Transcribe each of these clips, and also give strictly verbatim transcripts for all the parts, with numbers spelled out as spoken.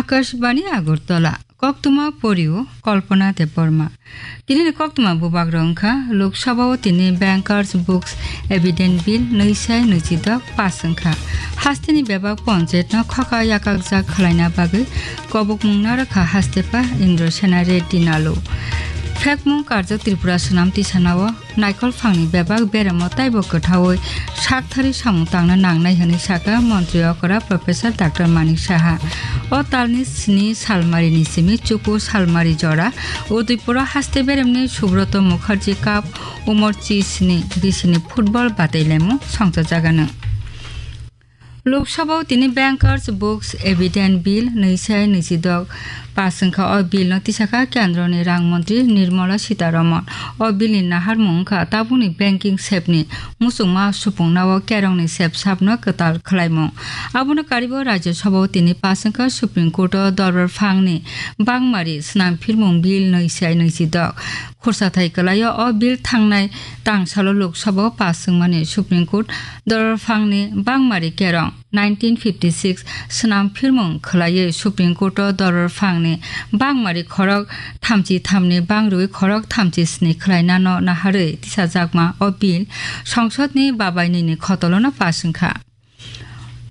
Akashbani Agartala. Koktwma porio Kalpana Debbarma. Tini ni koktwma bubak rok wngkha, Lok Sabha o tini Bankers Books Evidence Bill nwi sai nwi chi dok pass wngkha. Haste ni bebak ponchayat no khoka yakak jak khwlaina bagwi kobokmung narwkha haste pa Indra Sena Reddy Nalu. Phekmung karjak Tripura swnam tisanao Naikolphangni bebak beremo taibo kwthaui saktharwi samung tangna nangnai hwnwi sakha Montri okra Professor Doctor Manik Saha. O talni sini salmarini simi chuku salmari jora Udaipuro haste beremni Subroto Mukherjee Cup umor chi sini bisini football batailaimung songchajagano. Lok Sabha o tini Bankers Books Evidence Bill nwi sai nwi chi dok pass wngkha. O bill no tisakha kendroni rang montri Nirmala Sitharaman. O bill ni naharmung wngkha tabukni banking sep ni muchungma supungna o kerongni sep sap no kwtal khwlaimung. Abono karibo Rajya Sabha o tini pass wngkha Supreme Court o dorbar phangni bangmari swnam phirmung bill nwi sai nwi chi dok. Khursathai kwlaio o bill thangnai tangsalo Lok Sabha o pass wngmani Supreme Court dorbar phangni bangmari kerong nineteen fifty six swnam phirmung khwlaiwi Supreme Court o dorbar phangni bangmari khorok thamchi thamni bangrwi khorok thamchi sni khwlainano naharwi tisajakma o bill songsodni babai nini khotolono pass wngkha.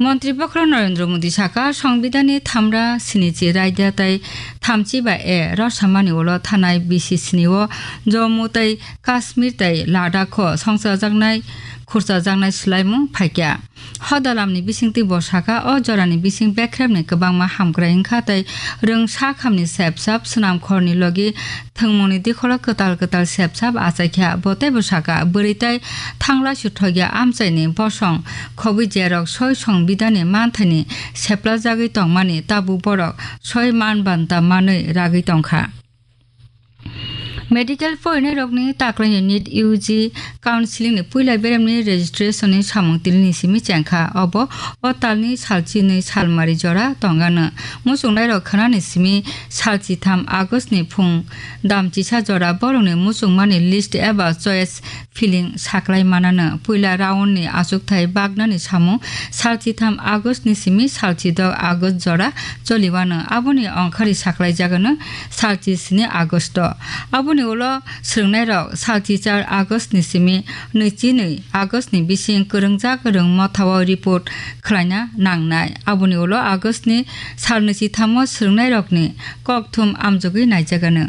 Montri Bokhorok Narendra Modi saka, Songbidanni thamra sinichi raida tei thamchi ba A rosamani ulo thanai bisi sini o Jammu tei Kashmir tei Ladakh o songchajaknai khurchajaknai swlaimung phaikha. Hodalamni bisingtwi bo saka, o jorani bising bekrepni kwbangma hamkrai wngkha tei rwng sakhamni sepsap swnamkhorni logi thwngmungni dikholo kwtal kwtal sepsap achaikha. Bo teibo saka, bwrwi tei thanglaisu thokya amchaini bosong khobwi jerok soi songbidanni manthaini seplajagwi tongmani tabuk borok soi man banta manwi ragwi tongkha. Medical porinairokni taklaini NEET U G counseling ni puila beremni registration ni samung tinini simi chengkha. Obo o talni salchinwi salmari jora tongano. Muchungnairok khwnani simi salchitham August ni phung damchisa jora borokni muchungmani list eba choice filling saklai manano. Puila round ni achukthai baknani samung salchitham August ni simi salchidok August jora choliwano. Aboni ongkhari saklaijagano salchi sini August o. Aboni ulo swrwngnairok salchi char August ni simi nwichi nwi August ni bising kwrwngjak rwng mothao report khwlaina nangnai. Aboni ulo August ni sal nwichitham o swrwngnairokni kokthum amjogwi naijagano.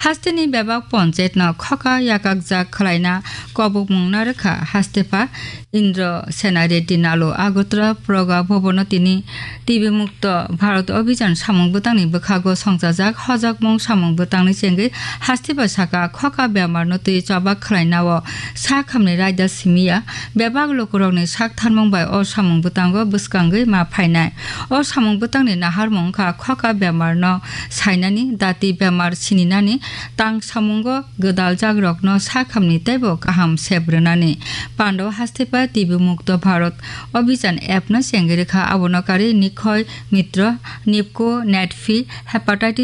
Hasteni bebak ponchayat no khoka yakakjak khwlaina kobokmung narwkha hastepa Indra Sena Reddy Nalu. Agartala Praga Bhavan o tini T B Mukto Bharat Abhijan samung bwtangni bwkhago songchajak hojakmung samung bwtangni chengwi hastepa saka, khoka bemar no twi chobak khwlaina o sakhamni raida simiya. Bebak lukurokni sak tharmung bai o samung bwtango bwskangwi ma phainai. O samung bwtangni naharmung wngkha khoka bemar no sainani, dati bemar sininani, tang samungo gwdaljakrokno sakhamni teibo kaham sep rwnani. Pandao hastepa T B Mukto Bharat Abhijan app no chengwi rwkha, abono karwi Nikhai Mitra, Nipco, Netfi, Hepatitis